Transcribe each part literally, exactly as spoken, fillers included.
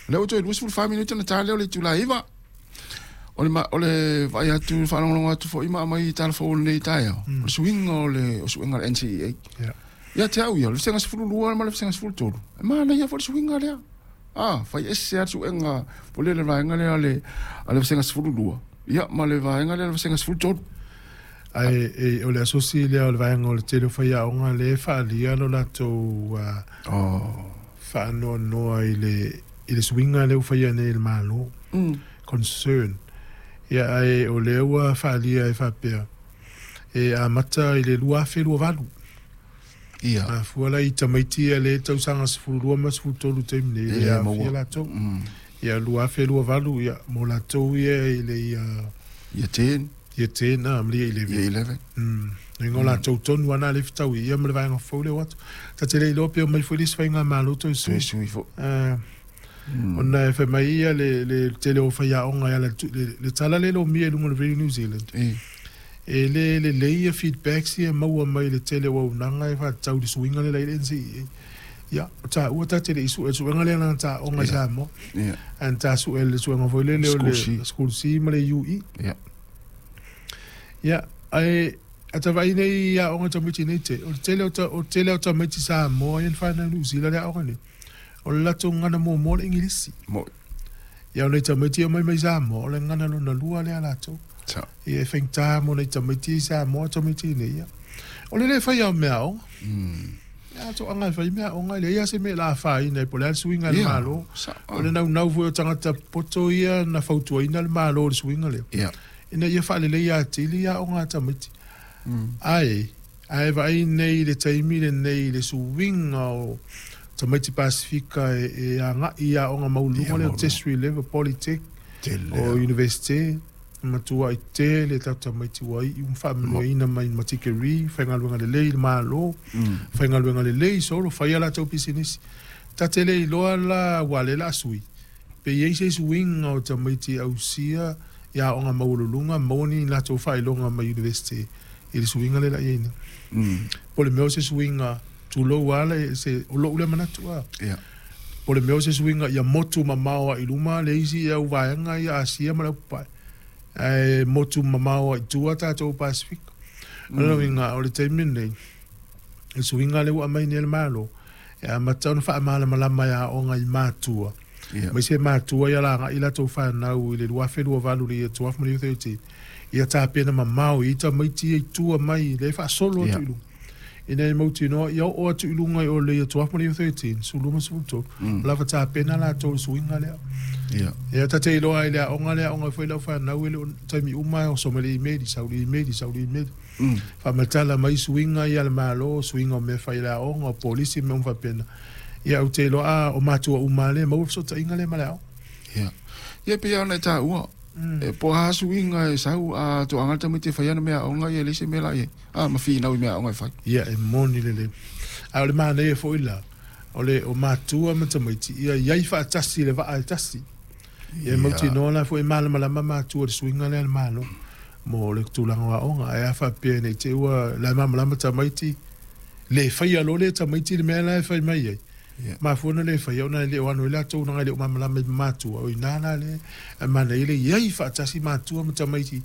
Lea ua toe luasefulu fa minute ona ta lea o le itula e iva. O le, o le vaai atu, faalogologo atu foi ma aumai tala fou o lenei taeao, o le suiga o le o suega a le N C E A. Yeah. Ia te au ia, o le vasega sefulu lua ma le vasega sefulu tolu. E manaia foi le suiga lea. Ah, fai ese lava le suega o le vaega lea le a le vasega sefulu lua. Ia, ma le vaega lea le vasega sefulu tolu. Ai, e, o le asosi lea o le vaega o le tele o faiaoga le faaalia lo latou oh. faanoanoa i le, i le suiga lea ua faia nei e le Malo. Mm. Concern. Ia, ai, o lea ua faaalia e faapea. E amata i le lua afe lua valu. Ia. Mafua la i tamaiti ia le tausaga sefulu lua ma sefulu tolu taimi nei, E le maua. aafia latou. Mm. Ia, lua afe lua valu, ia, mo latou ia i le ia Ia ten. Ia ten, ah, ma le ia eleven. Ia eleven. Mm. Ingo latou tonu ana le fetau ia ma le vaega fou le o atu. Ta te le iloa pe o mai foi le isi faiga malo toe sui. Toe sui foi. Ah, Mm. ona e fai mai ia le, le tele o faiaoga ia le, le, le tala le lomia i luga o le Radio New Zealand. E. E le, le lei ia feedbacks ia maua mai le tele o auaunaga e faatatau i le suiga le la i le N C E A. Ia, o taua ta te le i sue, suega lea na taoga i Ia. Samoa. Ia. Ana ta sue le suega foi lele o le School C. School C ma le U E. Ia. Ia, ae, a ta vaai nei aoga tamaiti nei te, o le tele o ta, o le tele o tamaiti Samoa ia na whanau New Zealand le aoga nei. O le latou gana muamua le Ingilisi. Mo. Ia, o nei tamaiti o mai mai Samoa, o le gana lona lua lea latou. Sa. Ia, e faigata mo nei tamaiti i Samoa, tamaiti nei ia. O le le fai au mea aoga. Mm. Ia, to anga e fai mea aoga, le ia se mea la whaina, po le a le suiga le Ia, malo. sa, O le naunau foi o tagata poto ia na fautuaina le malo o le suiga lea. Ia. Ina ia faalelei atili ia aoga a tamaiti. Mm. Ai, ai vaai nei le taimi lenei le suiga o tamaiti Pasifika e, e agai i aoga maualuluga Ia, lea o maualuluga. tertiary level, Polytech, Tele o lava. université, matua i tele tatou tamaiti ua iu ma faamanuiaina mai ma tikeri, faigaluega lelei le malo, Mm. faigaluega lelei solo, faia latou pisinisi. Ta te le iloa la ua le la sui. Pe iai se suiga o tamaiti ausia i aoga maualuluga, maua ni latou faailoga mai université i le suiga le la iai nei. Mm. Po le mea o se suiga tulou ala e se, o lou lea manatu a. Ia. Po le mea o se suiga ia motu mamao ai luma le isi ia uvaenga ia Asia ma le Upapae. Ae motu mamao ai tua tatou Pasifika. O le uiga o le taimi lenei, le suiga lea ua aumai nei e le Malo, e amata ona faamalamalama e aoga i matua. Ia. Mai se matua ia lagai i latou fanau i le lua afe lua valu i le ia twelve ma le thirteen. Ia tapena mamao i tamaiti ia i tua mai le faasolo atu Ia. i luga. Ina e mautinoa, ia oo atu i luga i o le ia twelve ma le thirteen, sefulu ma sefulu tolu. Mm. Lava tapena latou le suiga lea. Ia. Ia, ta te iloa i le aoga lea, aoga foi lau fanau e le o taimi uma e oso mai le email, sau le email, sau le email. Mm. Faamatala mai suiga ia le Malo, suiga o mea fai i le aoga, o polisi mea uma faapena. Ia, ou te iloa, a, o matua uma lea, maua fesootaiga lea ma le aoga. Ia. Ia, pei ona e taua. Mm. E po a suiga e sau, a toaga le tamaiti e fai ana mea aoga, ia e leai se mea la i ai. A, ma finau i mea aoga e fai. Ia, e moni lelei. A o le manaia foi la, o le o matua ma tamaiti, ia iai faatasi le vaa e tasi. Ia, Ia. mautinoa la foi e malamalama matua le suiga lea le Malo mo le tulaga o aoga. Ae a faapea nei te ua la e malamalama tamaiti, le faia loa le tamaiti le mea la e fai mai ai. Ia. Mafua ona le faia, ona e le o ano i latou na e le o malamalama i matua. O ina la le, e manaia le iai faatasi matua ma tamaiti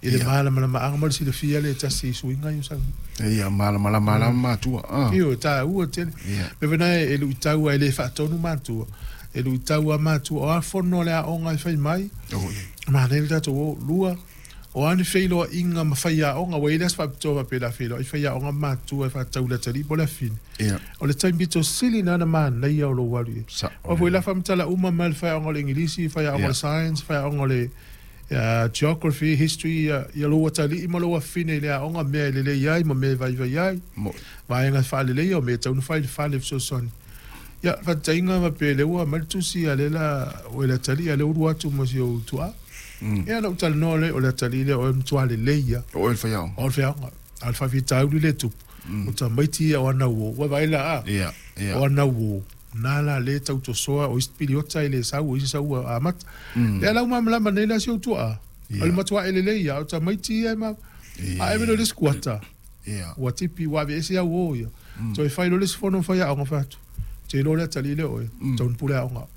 i le Ia. malamalamaaga ma le silafia le tasi i suiga i o sau. Ia, malamalama la matua. Ah. Io, taua tele. Ia. Me wena e luitau ai le faatonu matua. E luitau a matua. O a fono le aoga e fai mai. Oh, ia. Manaia le tatou o lua. O a ni feiloaiga ma fai aoga. Ua i le aso faapitoa faapea la feiloai fai aoga matua e faatau le atalii po o le afine. Ia. O le taimi pito sili na na manaia o lou alu i ai. Sa. O foi la faamatala uma mai le fai aoga o le Ingilisi, fai aoga o Ia. le science, fai aoga o le, uh, geography, history, ia, ia lou atalii ma lou afine i le aoga mea e lelei ai ma mea e vaivai ai. Mo. Vaega faalelei o mea e tau na fai le fale fesoasoani. Ia, faataitaiga faapea lea ua aumai le tusi a le la, o le atalii a le ulu atu ma si ou tuaa. Mm. Ia, na ou talanoa lea, o le atalii lea o e matua lelei ia. O le fai aoga. O le fai aoga. A o le faafitauli le tupu. Mm. O tamaiti ia o ana uo. Ua vaai la a. Ia, ia. O ana uo. Nā la le tautosoa o isi piliota i le sau, o isi sau a amata. Mm. Lea lau malamalama nei la si ou tuaa. Ia. O le matua e lelei ia, o tamaiti ia e ma. Ia. A e meno le isi kuata. Ia. Ua tipi, ua ave ese au o ia. Mm. Toe fai lo le isi fono fai aoga fai atu. Te iloa le atalii lea oe. Mm. Tau ni pule aoga.